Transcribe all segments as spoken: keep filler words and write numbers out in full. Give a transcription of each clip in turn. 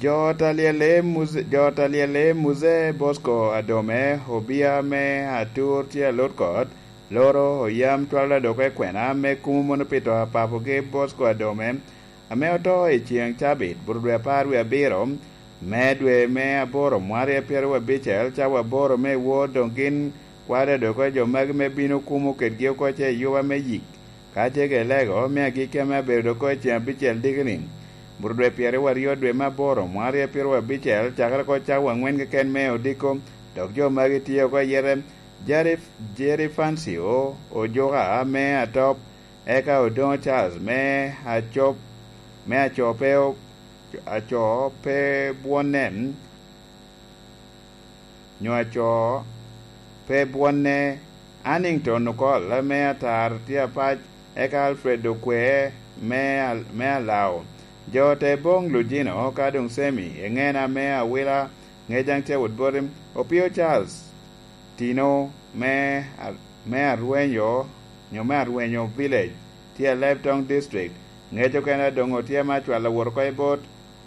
Jo ot alyel-le Muze, jo ot alyel-le Muze Bosco Adome, obia me Atur tye a Lutkot, loro oyam cwalo dok i kwena me kumo mono pi to a papogi Bosco Adome, ame oto i ceŋ cabit, bur dwe apar wie abiro me dwe me aboro mwaka pyeraryo abicel, cawa aboro me wor doŋ gin kwalo dok oko jo magi me bino kumo kedgi oko ce i yuba me yik. Ka ce ke lego, me agikki ame abedo dok oko i ceŋ abicel diki-ni, bur dwe pyeraryo aryo dwe me aboro mwaka pyeraryo abicel, cakere oko cawa aŋwen keken me odiko, dok jo magi tye oko ayete. Jerry, Jerry Fancio Ojuka me Atop, eka Odongo Charles me Acop, me Acope, Acope Bwonne, nyo Aco pe Bwonne, Annington Okol me Atar tye apac, eka Alfred Okwe me Al-, me Alao. Jo te boŋ Lujino ka doŋ Semi, Eŋena me Awila, Ŋejaŋ Cewot Boti, Opio Charles, Tino me, me Arwenyo, nyo me Arwenyo Village, tye i Alebtong District. Ŋec okene doŋ otye me acwalo wot oko i bot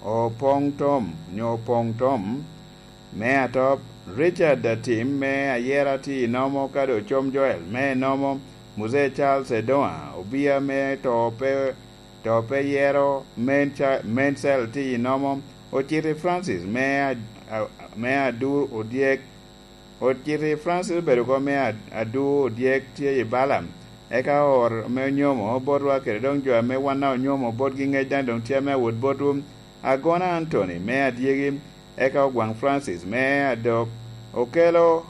Opoŋ Tom, nyo Opoŋ Tom me Atop, Richard Atim me Ayera tye i Nomo, kadi Ocom Joel me Nomo, Muzee Charles Edoŋa, Obia me To Pe, To Pe Yero, Men Ca-, Men Cell tye i Nomo, Ociti Francis me A-, A-, me Adu Odyek, Ociti Francis obedo oko me Ad-, Adu Odyek tye i Balaam, eka oor me onyomo botwa kede doŋ jo ame wanna onyomo botgi ŋec daŋ doŋ tye ame awot botwu, Agona Anthony me Adyegi, eka Ogwaŋ Francis me Adok, Okelo,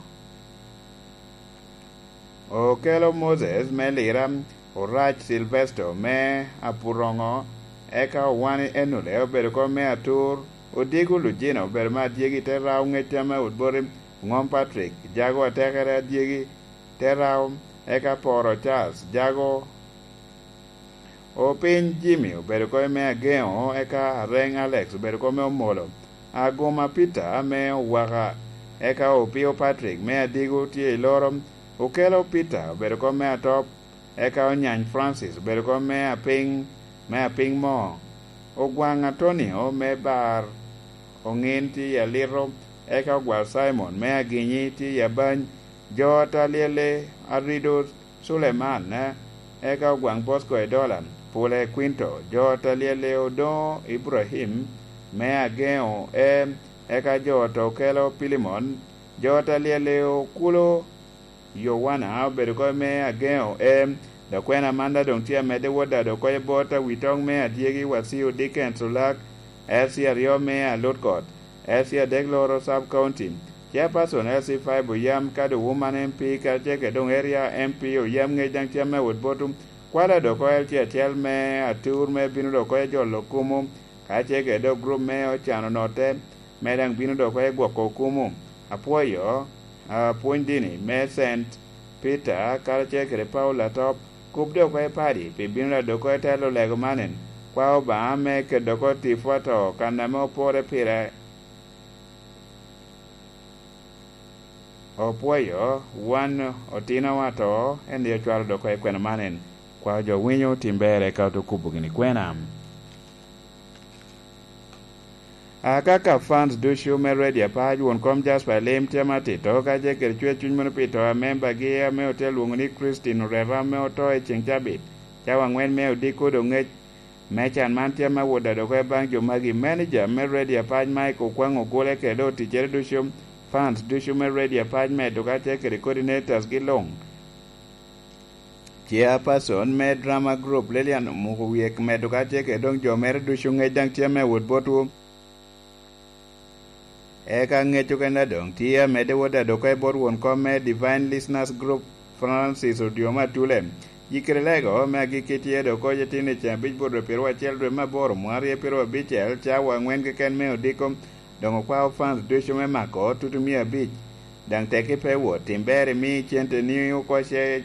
Okelo Moses me Lira, Orac Silvesto me Apuroŋo, eka Owani Enule obedo oko me Atur, Odiko Lujino obedo me Adyegi te Rao ŋec ame awot boti, Ŋom Patrick, Jago Atekere Adyegi, te Rao, eka Poro Charles, Jago, Opiny Jimmy obedo oko me Ageŋo, eka Areŋ Alex obedo oko me Omolo, Aguma Peter me Owaka, eka Opio Patrick me Adigo tye i Loro, Okelo Peter obedo oko me Atop, eka Onyany Francis obedo oko me Apiny, me Apiny Mo, Ogwaŋ Antonio me Bar Oŋin tye i Alito, eka Ogwal Simon me Aginyi tye i Abany, jo ot alyel-le Arido Suleman, eka Ogwaŋ Bosco Edola, Pule Quinto, jo ot alyel-le Odoŋo Ibrahim me Ageŋo E, eka jo ot Okelo Pilimon, jo ot alyel-le Okulo Yowana obedo oko me Ageŋo E, dok kwena man daŋ doŋ tye amedde wot daŋ dok oko i bot Awitoŋ me Adyegi Waciu Dickens Olak, L C aryo me Alutkot, L C adek Loro Sub County, Chairperson L C five Oyam, kadi Woman M P, kadi ce kede doŋ Area M P Oyam ŋec daŋ tye ame awot botwu, kwalo dok oko L C acel me Atur me bino dok oko i jolo kumu, ka ce kede doŋ group me Ocano Note, me daŋ bino dok oko i gwoko kumu. Apwoyo, apwony dini me Saint Peter, karacel kede Paulo Atop, kub dok oko i padi, pi bino daŋ dok oko i telo lego manen, kwa Obaŋa me keto dok oko tipo ato, kan ame opore pire. Opwoyo wan otinowa ato, en ri ocwalo dok oko i kwena manen, kwa jo winyo tim berre ka oto kubo gini kwena. Akaka fans ducu me Radio Apac, won kom Jasper Elim tye matito, ka ce kede cwer cuny mono pi to a membagi ame ote lwoŋo ni Christine Oreta ame oto i ceŋ cabit, cawa aŋwen me odiko doŋ ŋec me can man tye ame awot daŋ dok oko baŋ jo magi. Manager me Radio Apac Mike Okwaŋ Ogule kede oticcere ducu, fans ducu me Radio Apac medo ka ce kede coordinators gi luŋ. Chairperson me drama group Lilian Omuko Wiye medo ka ce kede doŋ jo mere ducu ŋec daŋ tye ame awot botwu. Eka ŋec okene doŋ tye amedde wot adok oko i bot won kom me Divine Listeners Group, Francis Odyoma Atule. Yikere lego me agikki tye dok oko itino i ceŋ abic bot dwe pyeraryo acel dwe me aboro mwaka aryo pyeraryo abicel, cawa aŋwen keken me odiko. Doŋ okwao fans ducu me mako tutu mia abic. Daŋ tekki pe wot, tim ber imi cente ni oko ce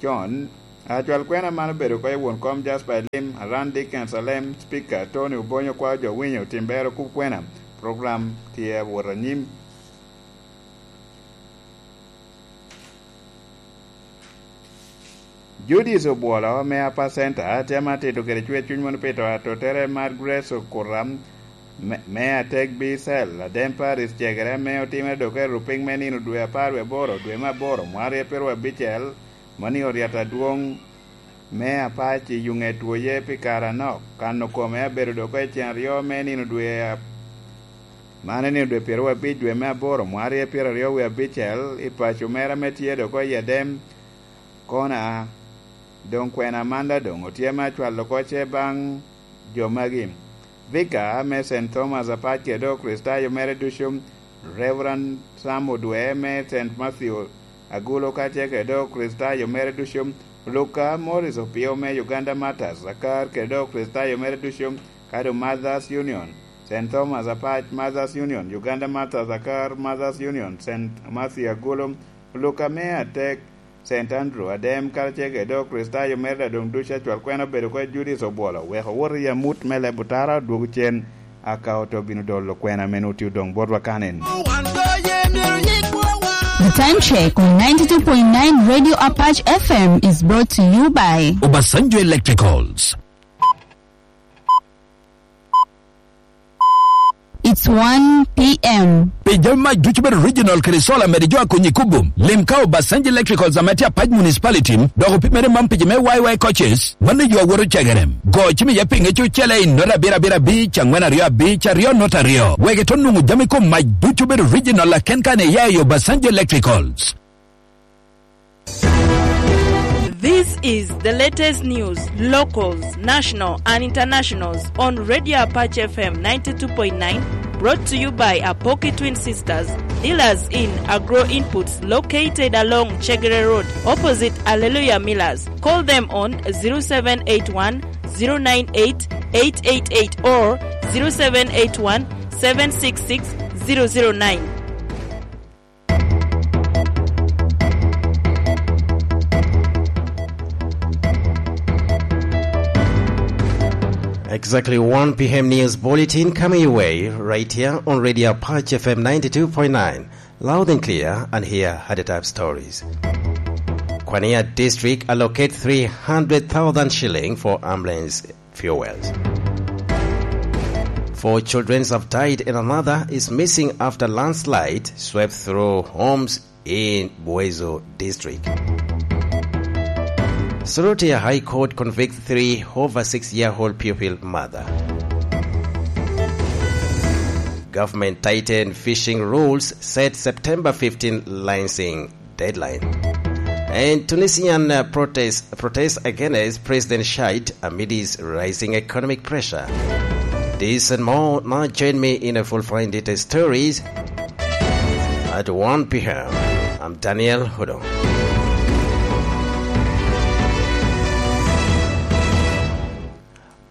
con. Acwal kwena man obedo oko i won kom Jasper Elim, Aran Dickens Alem, Speaker Tony Obonyo, kwao jo winyo, tim ber okub kwena. Program tye awot anyim. Judith Obwolo me Upper Center tye ame atito kede cwer cuny mono pi to atotere mar Grace Okuram, Me, me atek Bicel, Adem Paris cegere ame otimere dok i rupiny me nino dwe apar wie aboro, dwe me aboro, mwaka aryo pyeraryo abicel, mano i oryet adwoŋ me Apac i Yuŋet Twoye pi kare anok. Kano kome abedo dok i cen aryo me nino dwe a-, mano nino dwe pyeraryo abic dwe me aboro, mwaka aryo pyeraryo wie abicel, i paco mere ame tye dok i Adem, Kona, doŋ kwena Amanda doŋ otye ame acwalo kocce baŋ jo magi. Vicar me Saint Thomas Apac kede Okricitayo mere ducu, Reverend Sam Odwe me Saint Matthew Agulo kacel kede Okricitayo mere ducu, Luka Morris Opio me Uganda Martyrs Akar kede Okricitayo mere ducu, kadi Mothers Union, Saint Thomas Apac Mothers Union, Uganda Martyrs Akar Mothers Union, Saint Matthew Agulo, Luka me atek, Saint Andrew Adem, karacel kede Okricitayo mere a doŋ ducu acwal kwena obedo oko i Judic Obwolo, wek owot i amut me leb otara odwogo cen, aka oto bino dolo kwena ame nwoŋo tye odoŋ botwa kanen. The time check on ninety-two point nine Radio Apache F M is brought to you by Obasanjo Electricals. It's one p.m. Pi jami mac ducu bedo original kede solar mede jo a konyi kubo. Lim ka Obasanjo Electricals ame tye Apac Municipality, dok opimere man pi jo me Y Y coaches, mano yo awoto cegerem. Go cim iye pinge cucele i nota abiro abiro abic, angwen aryo abic, aryo nota aryo. Wek ito nwoŋo jami kom mac ducu bedo original aken kan iya i Obasanjo Electricals. This is the latest news, locals, national and internationals on Radio Apache F M ninety-two point nine, brought to you by Apoki Twin Sisters, dealers in agro inputs located along Chegere Road, opposite Alleluia Millers. Call them on zero seven eight one, zero nine eight, eight eight eight or zero seven eight one, seven six six, zero zero nine. Exactly one p.m. news bulletin coming your way right here on Radio Apache F M ninety-two point nine. Loud and clear, and here are the top stories. Kwania District allocate three hundred thousand shilling for ambulance fuels. Four children have died and another is missing after landslide swept through homes in Buezo District. Soroti High Court convict three over six-year-old pupil mother. Government tighten fishing rules, set September fifteen lancing deadline. And Tunisian, uh, protest, protest against President Shait amid his rising economic pressure. This and more. Now join me in a full fine detail stories at one p.m. I'm Daniel Hudo.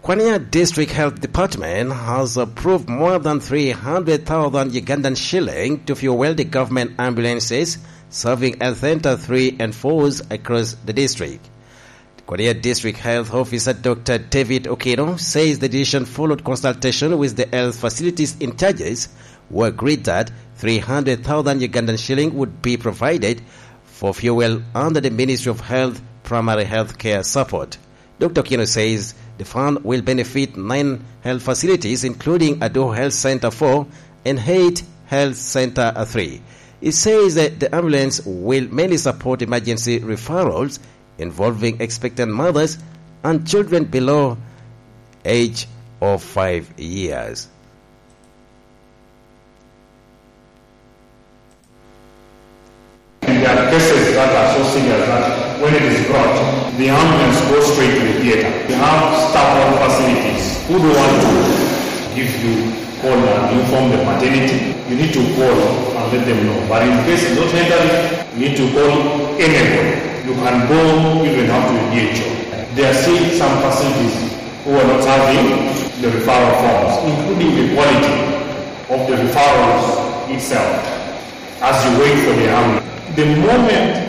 Kwania District Health Department has approved more than three hundred thousand Ugandan shilling to fuel the government ambulances serving health center three and fours across the district. Kwania District Health Officer Doctor David Okino says the decision followed consultation with the health facilities in charges, who agreed that three hundred thousand Ugandan shilling would be provided for fuel under the Ministry of Health Primary Health Care Support. Doctor Okino says the fund will benefit nine health facilities, including Adoho Health Center four and eight Health Center three. He says that the ambulance will mainly support emergency referrals involving expectant mothers and children below age of five years. And there are cases that are so serious that when it is brought, the ambulance goes straight to the theater. We have staff on facilities who don't want to give you call and inform the maternity. You need to call and let them know. But in case it's not necessary, you need to call anybody. You can go even up to the D H O. There are still some facilities who are not having the referral forms, including the quality of the referrals itself as you wait for the ambulance. The moment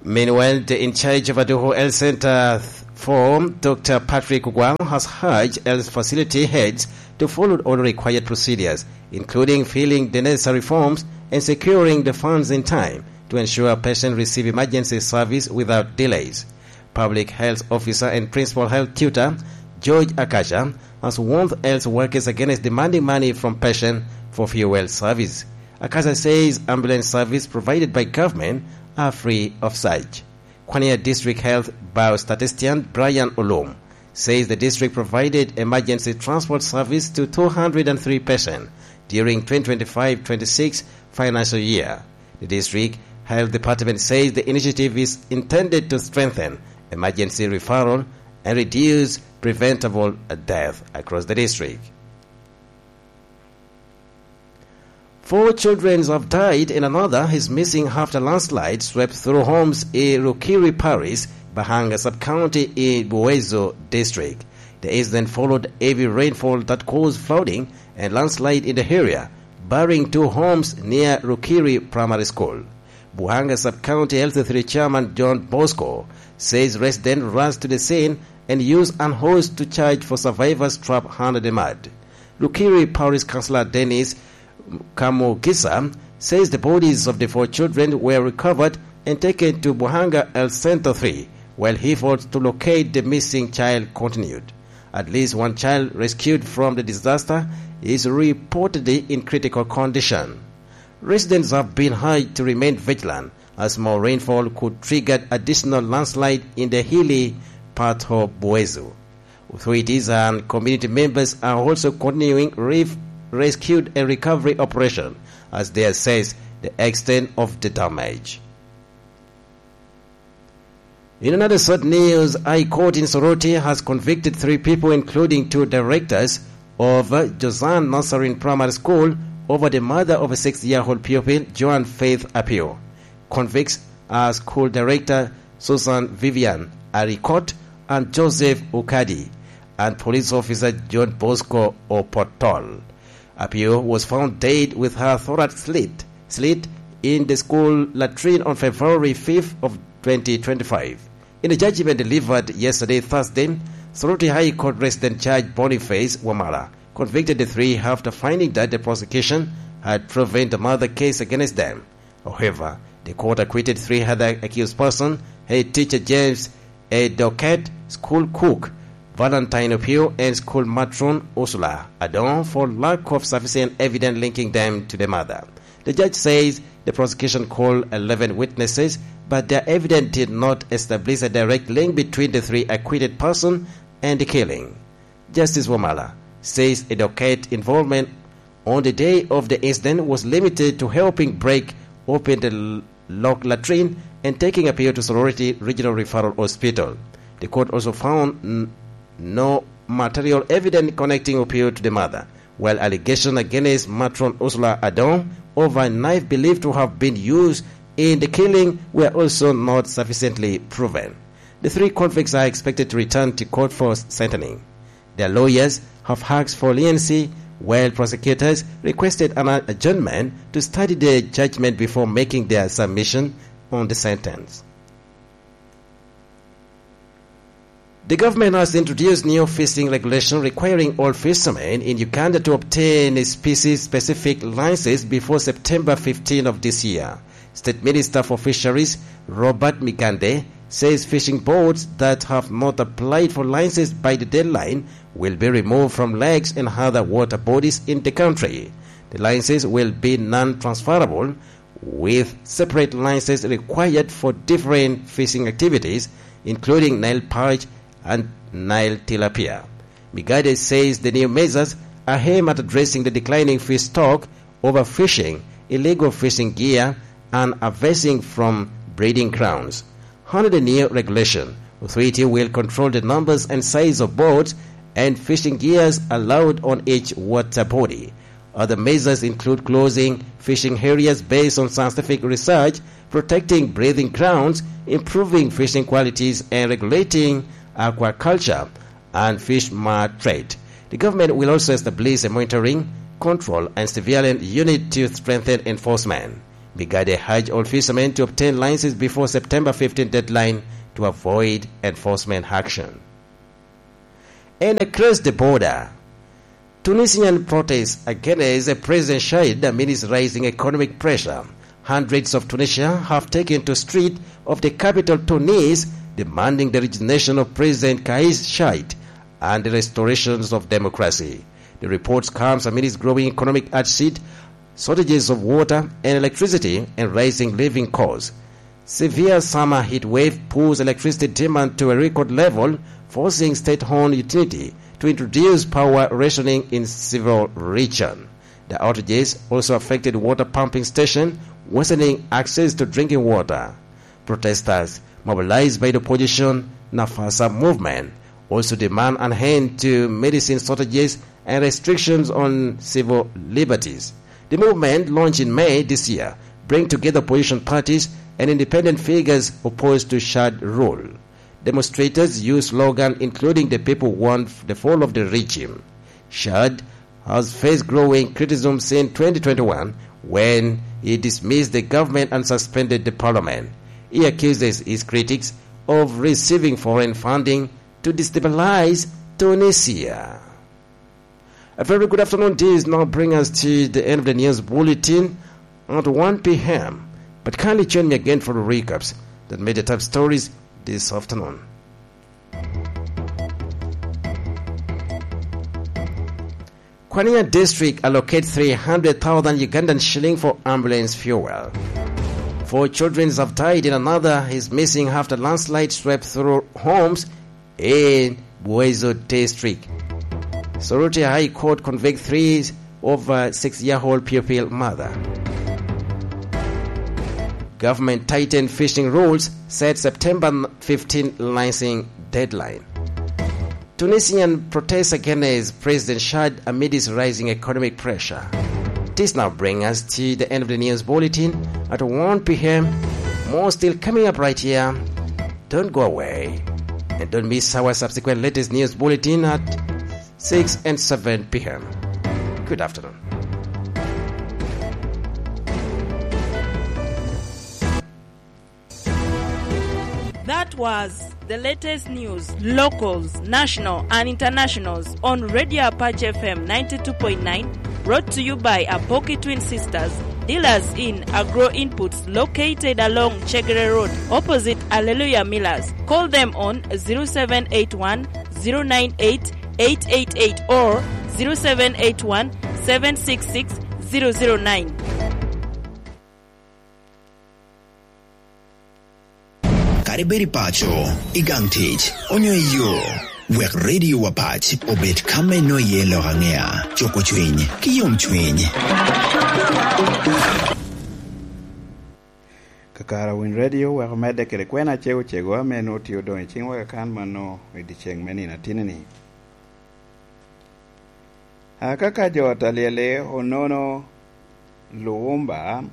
Meanwhile, the in charge of Adoho Health Center four, Doctor Patrick Ogwal, has urged health facility heads to follow all required procedures, including filling the necessary forms and securing the funds in time to ensure patients receive emergency service without delays. Public Health Officer and Principal Health Tutor George Akacha has warned health workers against demanding money from patient for fuel service. Akacha says ambulance service provided by government are free of charge. Kwania District Health Biostatistician Brian Olum says the district provided emergency transport service to two hundred and three patients during twenty twenty-five twenty-six financial year. The district health department says the initiative is intended to strengthen emergency referral and reduce preventable death across the district. Four children have died and another is missing after landslide swept through homes in Rukiri Parish, Bahanga Sub-County in Buezo District. The incident followed heavy rainfall that caused flooding and landslide in the area, burying two homes near Rukiri Primary School. Buhanga Sub-County L C three Chairman John Bosco says residents rushed to the scene and used an hose to search for survivors trapped under the mud. Rukiri Parish Councillor Dennis Kamugisa says the bodies of the four children were recovered and taken to Buhanga Health Center three, while efforts to locate the missing child continued. At least one child rescued from the disaster is reportedly in critical condition. Residents have been urged to remain vigilant as more rainfall could trigger additional landslide in the hilly part of Buezu. Authorities and community members are also continuing reef rescue and recovery operation as they assess the extent of the damage. In another sad news, High Court in Soroti has convicted three people, including two directors of Josan Nazarene Primary School, over the murder of a six-year-old pupil, Joan Faith Apio. Convicts are school director Susan Vivian Aricot and Joseph Ukadi, and police officer John Bosco Opotol. Apio was found dead with her thorax slit, slit in the school latrine on February fifth of twenty twenty-five. In a judgment delivered yesterday, Thursday, Soroti High Court Resident Judge Boniface Wamala convicted the three after finding that the prosecution had proven the murder case against them. However, the court acquitted three other accused persons, head teacher James Edoket, school cook Valentine Opio, and school matron Ursula Adon, for lack of sufficient evidence linking them to the murder. The judge says the prosecution called eleven witnesses, but their evidence did not establish a direct link between the three acquitted persons and the killing. Justice Wamala says Edoket involvement on the day of the incident was limited to helping break open the l-, locked latrine and taking Apio to Sorority Regional Referral Hospital. The court also found n-, no material evidence connecting Opio to the murder, while allegations against matron Ursula Adon over a knife believed to have been used in the killing were also not sufficiently proven. The three convicts are expected to return to court for sentencing. Their lawyers have asked for leniency, while prosecutors requested an adjournment to study the judgment before making their submission on the sentence. The government has introduced new fishing regulation requiring all fishermen in Uganda to obtain a species-specific licenses before September fifteen of this year. State Minister for Fisheries Robert Migande says fishing boats that have not applied for licenses by the deadline will be removed from lakes and other water bodies in the country. The licenses will be non-transferable, with separate licenses required for different fishing activities, including Nile perch and Nile tilapia. Migande says the new measures are aimed at addressing the declining fish stock, overfishing, illegal fishing gear, and harvesting from breeding grounds. Under the new regulation, authority will control the numbers and size of boats and fishing gears allowed on each water body. Other measures include closing fishing areas based on scientific research, protecting breeding grounds, improving fishing qualities, and regulating aquaculture and fish mart trade. The government will also establish a monitoring, control, and surveillance unit to strengthen enforcement. Migande urged all fishermen to obtain licenses before September fifteenth deadline to avoid enforcement action. And across the border, Tunisian protests against President Said amid rising economic pressure. Hundreds of Tunisia have taken to street of the capital Tunis, demanding the resignation of President Kais Said and the restorations of democracy. The report comes amidst growing economic hardship, shortages of water and electricity, and rising living costs. Severe summer heat wave pulls electricity demand to a record level, forcing state-owned utility to introduce power rationing in several regions. The outages also affected water pumping station, worsening access to drinking water. Protesters, mobilized by the opposition Nafasa movement, also demand an end to medicine shortages and restrictions on civil liberties. The movement, launched in May this year, bring together opposition parties and independent figures opposed to Shad rule. Demonstrators use slogans including "The people want the fall of the regime." Shad has faced growing criticism since twenty twenty-one, when he dismissed the government and suspended the parliament. He accuses his critics of receiving foreign funding to destabilize Tunisia. A very good afternoon. This now brings us to the end of the news bulletin at one p.m. But kindly join me again for the recaps that made the top stories this afternoon. Kwania District allocate three hundred thousand Ugandan shilling for ambulance fuel. Four children have died and another is missing after landslide swept through homes in Buezo District. Soroti High Court convict three over six-year-old pupil mother. Government tighten fishing rules, set September fifteen licensing deadline. Tunisian protests against President Shad amid his rising economic pressure. This now brings us to the end of the news bulletin at one p.m. More still coming up right here. Don't go away. And don't miss our subsequent latest news bulletin at six and seven p.m. Good afternoon. That was the latest news, locals, national and internationals, on Radio Apache F M ninety-two point nine, brought to you by Apoki Twin Sisters, dealers in agro inputs, located along Chegere Road, opposite Alleluia Millers. Call them on zero seven eight one, zero nine eight, eight eight eight or zero seven eight one, seven six six, zero zero nine. Kadi bed i paco, i gang tic, onyo i yo, wek Radio Apache obed ka me nwoyo iye lok aŋea, cuko cwiny, ki yomcwiny. Kakare Winy Radio wek omedde kede kwena acego cego ame nwoŋo tye odoŋ i ciŋwa kakan mano i dyeceŋ me nino atinni-ni. Akaka jo ot alyel-li Onono Luwumba,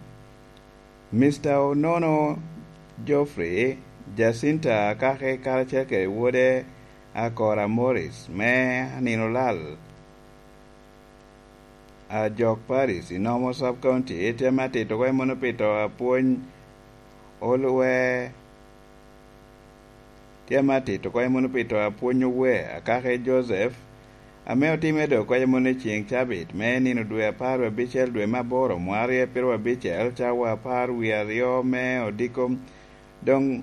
Mister Onono Geoffrey, Jacinta Akaki karacel kede wode Akora Morris me Aninolal, Ajok Parish i Nomo Sub County, tye me atito oko i muno pi to apwony Olwe, tye me atito oko i muno pi to apwony Owe Akaki Joseph, ame otimme doŋ oko i muno i ceŋ cabit me nino dwe apar wie abicel dwe me aboro mwaka aryo piro abicel, cawa apar wie aryo me odiko. Doŋ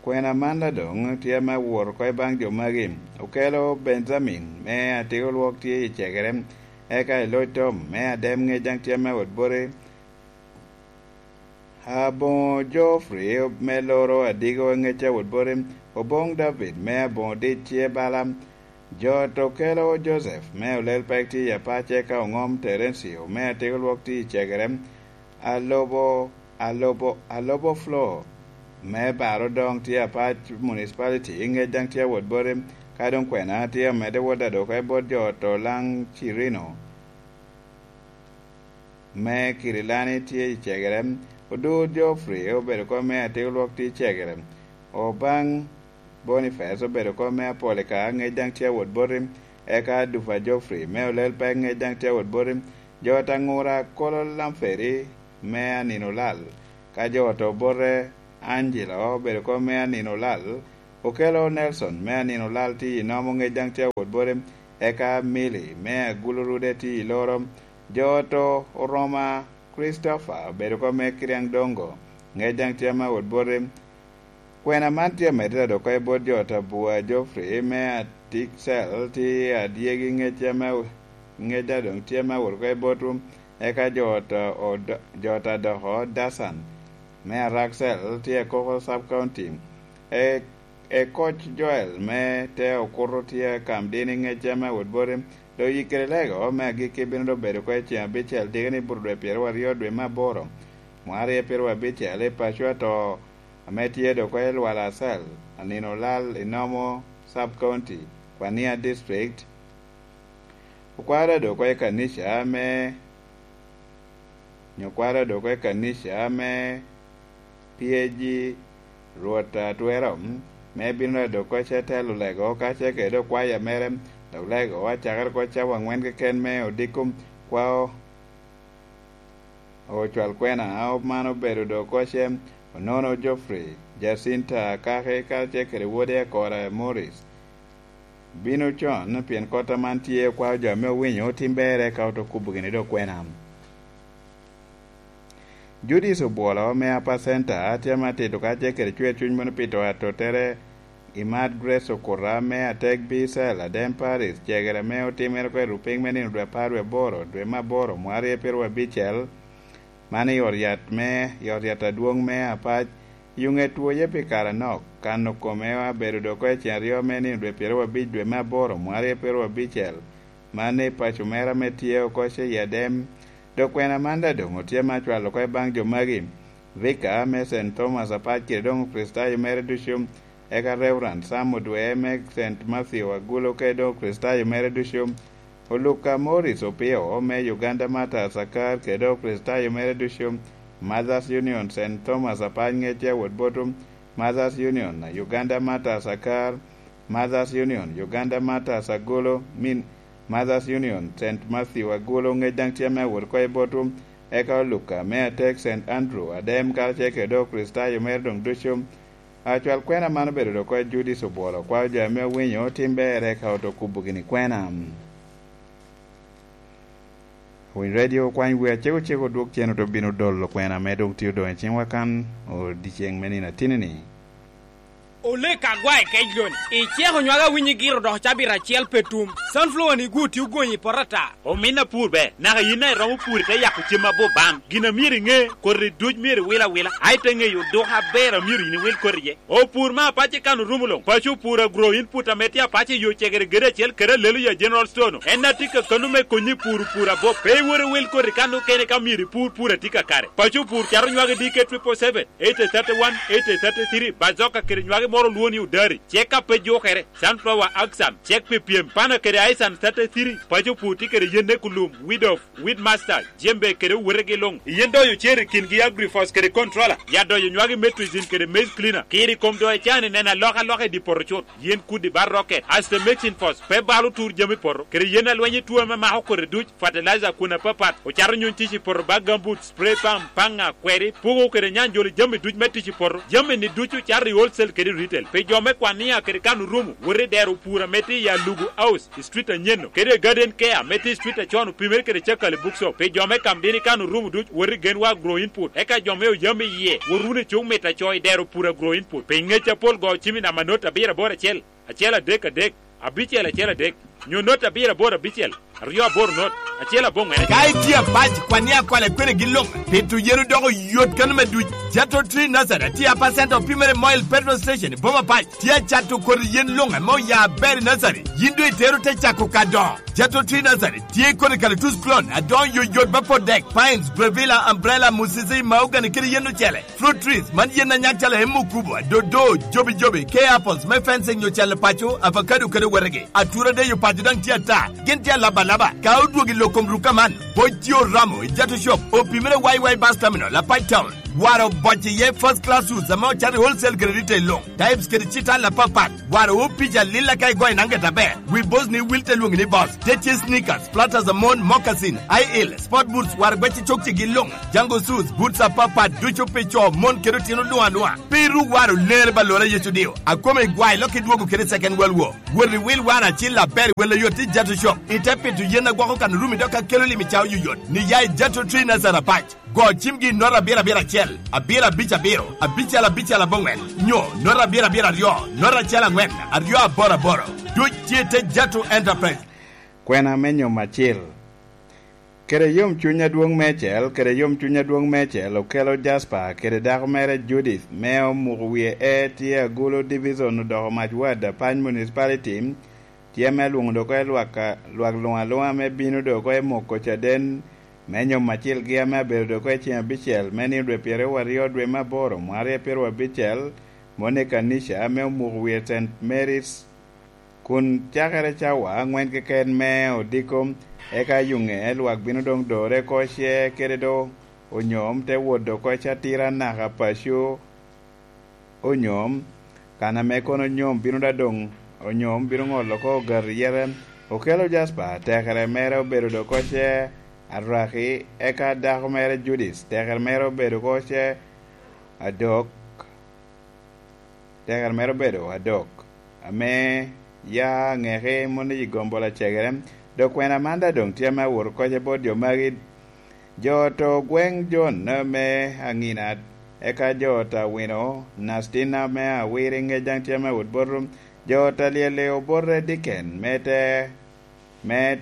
kwena man adoŋ tye ame awot oko i baŋ jo magi. Okelo Benjamin me Atigolwok tye i Cegere, eka i Loc Tom me Adem ŋec daŋ tye ame awot boti. Aboŋo Geoffrey me Loro Adigo ŋec awot boti. Oboŋ David me Aboŋo Dic tye bala. Jo ot okelo Joseph me Olel Pek tye i Apac, eka Oŋom Terencio me Atigolwok tye i Cegere. Alobo, alobo, alobo Flo me Baro doŋ tye Apac Municipality, ŋec daŋ tye awot boti, ka doŋ kwena tye omedde wot adwoke bot jo ot Olaŋ Cirino me Kirilani tye i Cegere. Odur Geoffrey obedo kom me Atigolwok tye i Cegere. Obaŋ Boniface obedo kom me Apolika, ŋec daŋ tye awot boti, eka Dupa Geoffrey me Olel Pek, ŋec daŋ tye awot boti. Jo ot Aŋura Kolo Lamferi me Aninolal, ka jo ot Obote Angelo obedo kom me Aninolal. Okelo Nelson me Aninolal tye i Nomo, ŋec daŋ tye awot boti, eka Milly me Agulu Rude tye i Loro. Jo ot Oroma Christopher obedo kom me Kiriaŋ Dongo, ŋec daŋ tye ame awot boti. Kwena man tye amedde dok oko i bot jo ot a Bua Geoffrey me Atik Cell tye adyegi ŋec ame ŋec a doŋ tye me awot oko i botwu, eka jo ot a Od-, jo ot a Doko Dasan me Arak Cell tye i Koko Sub County. E, e koc Joel me te okuto tye kam dini ŋec ame awot boti, dok yik kede lego me agikki bino doŋ bedo oko i ceŋ abicel diki ni buto dwe pyeraryo dwe me aboro, mwaka aryo pyeraryo abicel i paco ato ame tye dok oko i Lwala Cell, anino olal i Nomo Sub County, Kwania District. Okwara dok oko i kanica me, nyo okwara dok oko i kanica me P A G Rwot Atwero, me bino dok oko ce telo lego, ka ce kede okwaya mere, dok lego acakere oko cawa angwen keken me odiko kwao. Ocwal kwena, a man obedo dok oko ce, Onono Geoffrey, Jacinta Akaki, kacel kede wode Akora Morris. Bino con, pien kota man tye okwao jo ame owinyo otim berre ka oto kubo gini dok kwena. Judith Obwolo me Upper Center, tye ame atito kacel kede cwer cuny mono pi to atottere, Imat Grace Okuta me Atek Bicel, Adem Paris, cegere ame otimere oko i rupiny me nino dwe apar dwe aboro, dwe me aboro, mwaka aryo pyeraryo abicel, man i ot yat me, i ot yat adwoŋ me Apac, i oŋet twoye pi kare anok, kano kome abedo dok oko i ceŋ aryo me nino dwe pyeraryo abic dwe me aboro, mwaka aryo pyeraryo abicel, man i paco mere ame tye oko ce i Adem. Dok kwena man daŋ doŋ otye me acwalo oko i baŋ jo magi, Vika me Saint Thomas Apac kede doŋ Kricitayo mere ducu, eka Reverend Sam Odwe me Saint Matthew Agulu kede doŋ Kricitayo mere ducu, Oluka Morris Opio me Uganda Martyrs Akar kede doŋ Kricitayo mere ducu, Mothers Union Saint Thomas Apac ŋecce awot boto, Mothers Union Uganda Martyrs Akar, Mothers Union Uganda Martyrs Agulu, min Mothers Union Saint Matthew Agulu ŋec daŋ tye me awot oko i botwu, eka Oluka me Atek Saint Andrew Adem karacel kede doŋ Kricitayo mere doŋ ducu. Acwal kwena man obedo dok oko i Judith Obwolo, kwao jo ame owinyo otim berre ka oto kubo gini kwena. Winy Radio okwany wi acego cego odwog cen oto bino dolo kwena ame doŋ tye odoŋ i ciŋwa kan odyeŋ me nino atini-ni. Olek agwa i kec loni, iceko nywage awinyi giro dok cabit acel pe tum. Sunflower ni gwo tye ogony i poto ata. Omin apur ber, naka yin a iromo pur ite yako cem abo bam. Gin a myero iŋe, koti duc myero iwil awila, a ite ŋeyo odoko aber a myero yin iwil koti iye. Opur me apac i kan orumo loŋ, paco opur agro input ame tye apac i yo cegere gede acel kede alelo ya General Store no. En a tye kakano me konyi pur pur abo, pe iwor iwil koti kan okene ka myero ipur pur a tye kakare. Paco opur cato nywage D K triple seven, eighty thirty-one, eighty thirty-three, bazoka kede nywage moro olwo ni odari, cek a pe jukere, sunflower axan, cek pi pyem, pana kede aisan thirty-three, paco opur tye kede yen ne kulum, weed of, weed master, jembe kede owetegi luŋ. Yen doyo cer i kingi agrifos kede controller, ya doyo nywage metrizin kede maize cleaner, kiri kom doyo cani neno alokaloka i di poto cut. Yen kudi bar rocket, aste mixing force, pe balo tur jami poto, kede yen alweny i tuo ame mako kodi duc, fertilizer kun apapat, ocato nyuny tic i poto bag gambut, spray pump, paŋa, kweri, puko kede nyanjolo jami duc me tic i poto. Jami ni ducu cato i wholesale kede retail. Pi jo me kwania kede kan orumo, wot i dero pur ame tye i Alugu House, i street anyeno, kede i Garden Care ame tye i street acon opimere kede Cakali Bookshop. Pi jo me kam dini kan orumo duc, wot i Genwa Agro Input. Eka jo me oyam i yie, wot wunu i cuk mit aco i dero pur Agro Input. Pi ŋec apol go cim i namba not abiro aboro acel, acel adek adek, abicel acel adek, nyo not abiro aboro abicel, aryo aboro not, acel aboŋwen. Ka itye apac, kwan ni akwala kwene gin luŋ, pito yen odoko yot kano me duc. Jato Tree Nursery tye a percent opimere Moil Petrol Station i boma pac. Tye acato kodi yen luŋ ame oya aber i nursery. Yin doŋ itero te cako ka dongo. Jato Tree Nursery tye kodi kalatuc clone adoŋo yoyot me pot dek, pines, bravilla, umbrella, musisi, mahogany kede yen ocele. Fruit trees, man yen a nyak calo emo kubo, dodo, jobi jobi, kea apples me fencing nyo calo paco, avocado kede wetegi. Atura deyo paco daŋ tye ata, gin tye alaba alaba. Ka odwogo i lok kom rukka man, boc tye oromo i Jato Shop, opimere Y Y Bus Terminal, Apac Town. Waro boc iye first class suits ame ocato i wholesale kede retail luŋ. Types kede citala apapat. Waro o pica lilla ka igoyo nanget aber. Wi boss ni wil te lwongi ni boss. Te tye sneakers, platters a mon, moccasin, high heel, sport boots, waro gwecci cokcigi luŋ. Jango shoes, boots apapat ducu pi co, mon kede otino luŋ aluŋa. Pe iru waro ler ba lora Yecu dio. Akome igwayo lok idwogo kede second world war. Wot iwil waro acil aber i wel oyot i Jato Shop. Ite pito yen agwoko kan orumi dok akelo lim i cawa yoyot. Ni ya i Jato Tree Nazareth Apac. Go cimgi nota abiro abiro acel, abiro abic abiro, abicel abicel aboŋwen, nyo nota abiro abiro aryo, nota acel aŋwen, aryo aboro aboro. Duc tye te Jatu Enterprise. Kwena me nyom acil. Kede yomcuny adwoŋ meicel, kede yomcuny adwoŋ meicel okelo Jasper kede dako mere Judith, me omuko wie e tye Agulu Division odoko mac ward Apany Municipality, tye me lwoŋo dok oko i lwak, lwak luŋ aluŋa me bino dok oko i moko caden me nyom acilgi ame abedo dok oko i ceŋ abicel me nino dwe pyeraryo aryo dwe me aboro mwaka aryo pyeraryo abicel, moni i kanica ame omuko wie Saint Mary's, kun cakere cawa aŋwen keken me odiko, eka yuŋe lwak bino doŋ dore oko ce kede do onyom te wot dok oko i catira naka paco onyom, kan ame kono onyom bino daŋ doŋ onyom bino ŋolo oko ogato yete. Okelo Jasper, tekere mere obedo dok oko ce Araki, eka dako mere Judith, tekere mere obedo oko ce Adok, tekere mere obedo Adok, ame ya aŋeki moni i gombola cegere. Dok kwena man daŋ doŋ tye ame awot oko ce bot jo magi, jo oto gweŋ Jon me Aŋina, eka jo oto Awino, Nastina me Awiri ŋec daŋ tye ame awot bot, jo oto Alyeli obote Diken me te, me,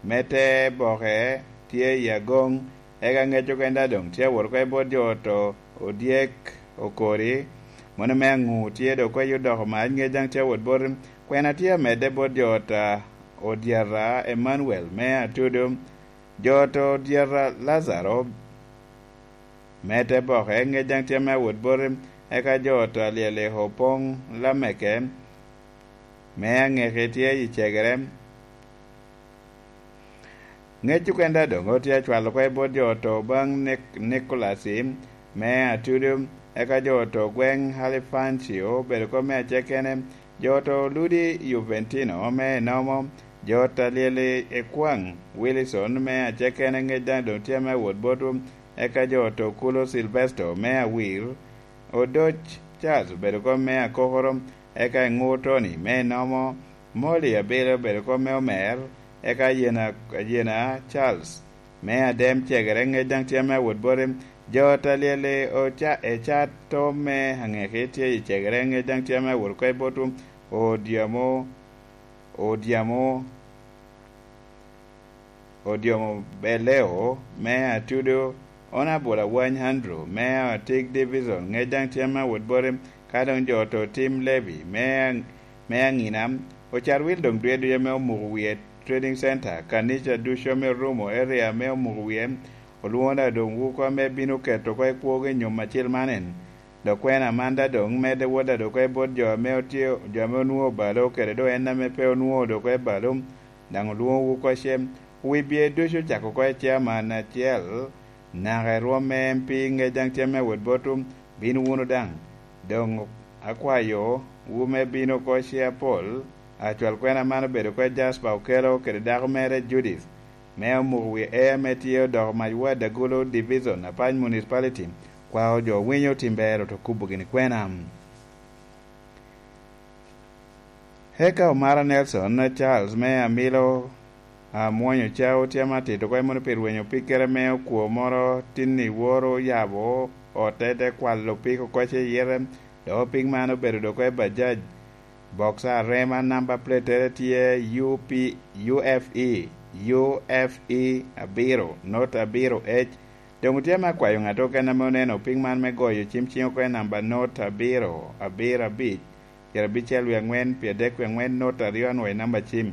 me te Boke tye i Agoŋ, eka ŋec okene daŋ doŋ tye awot oko i bot jo oto Odyek Okori, moni me Aŋu tye dok oko i odoko mac ŋec daŋ tye awot bot, kwena tye amedde bot jo oto Odyata Emmanuel me Atudu, jo oto Odyata Lazaro me te Boke, ŋec daŋ tye ame awot boti, eka jo oto Alyeli Opoŋ Lameke me Aŋeki tye i cegere. Ŋec okene daŋ doŋ otye acwalo oko i bot jo oto baŋ Nik-, Nikolasi me Atudu, eka jo oto gweŋ Halifancio obedo oko me acekene, jo oto Ludi Juventino me Enomo, jo oto Alyeli Ekwaŋ Wilison me acekene ŋec daŋ doŋ tye ame awot botwu, eka jo oto Kulo Silvesto me Awir, Odoc Charles obedo oko me Akokoro, eka Eŋur Tony me Enomo, Molly Abele obedo oko me Omer, eka Ayena, Ayena Charles me Adem cegere ŋec daŋ tye ame awot boti, jo oto Alyeli Oca-, Ecato me Aŋeki tye i cegere ŋec daŋ tye ame awot oko i botwu, Odyamo, Odyamo, Odyomo Beleo me Atudo, Honourable Awany Andrew me Atik Division, ŋec daŋ tye ame awot boti, ka doŋ jo oto Tim Levy me, me Aŋina, Ocar Wil doŋ dwe ducu ame omuko wie Trading Center, kanica ducu ame orumo area ame omuko wie, olwoŋo daŋ doŋ wuko ame bino keto oko i kwogo i nyom acil man en. Dok kwena man daŋ doŋ medde wot daŋ dok oko i bot jo ame otye, jo ame onwoŋo obalo, kede doŋ en ame pe onwoŋo dok oko i balo, daŋ olwoŋowu oko ce. Wi bye ducu ocako oko i chairman acel, naka i rwom me M P ŋec daŋ tye ame awot botwu, bin wunu daŋ. Doŋ akwayo wu me bino oko ce apol, acwal kwena man obedo oko i Jasper Okello kede dako mere Judith, me omuko wi E ame tye odoko mac ward Agulu Division, Apany Municipality, kwao jo winyo tim ber oto kubo gini kwena. Eka Omara Nelson Charles me Amilo, Amwonyo Cao tye ame atito oko i moni pi rwenyo pikkere me okwo moro tin i woro yabo ote te kwalo pik oko ce yite, dok pik man obedo dok oko i Bajaj. Boksa arema namba platere tye U P, U F E, U F E abiro, not abiro H. Doŋ otye ame akwayo ŋat okene ame oneno piny man me goyo cim ciŋ oko i namba not abiro, abiro abic, pyerabicel wie aŋwen, pyeradek wie aŋwen, not aryo anwoŋo i namba cim.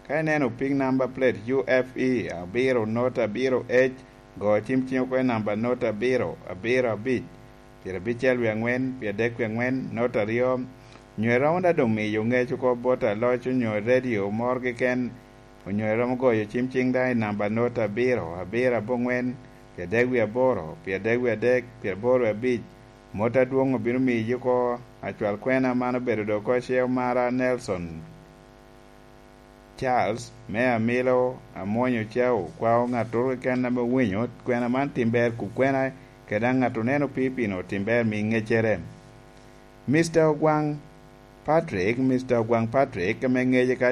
Ka ineno piny namba plate U F E abiro, not abiro H, go cim ciŋ oko i namba not abiro, abiro abic, pyerabicel wie aŋwen, pyeradek wie aŋwen, not aryo, nyo iromo daŋ doŋ miyo ŋec oko bot aloc onyo redio moro keken, onyo iromo goyo cim ciŋ daŋ i namba not abiro, abiro aboŋwen, pyeradek wie aboro, pyeradek wie adek, pyeraboro wie abic, mot adwoŋ obino miyi oko. Acwal kwena man obedo dok oko ce Omara Nelson Charles, me Amilo, Amwonyo Cao, kwao ŋattoro keken ame owinyo kwena man tim ber kub kwena, kede daŋ ŋat oneno pii pino tim ber mi ŋeccere. Mister Ogwaŋ Patrick, Mister Ogwaŋ Patrick, ame ŋece ka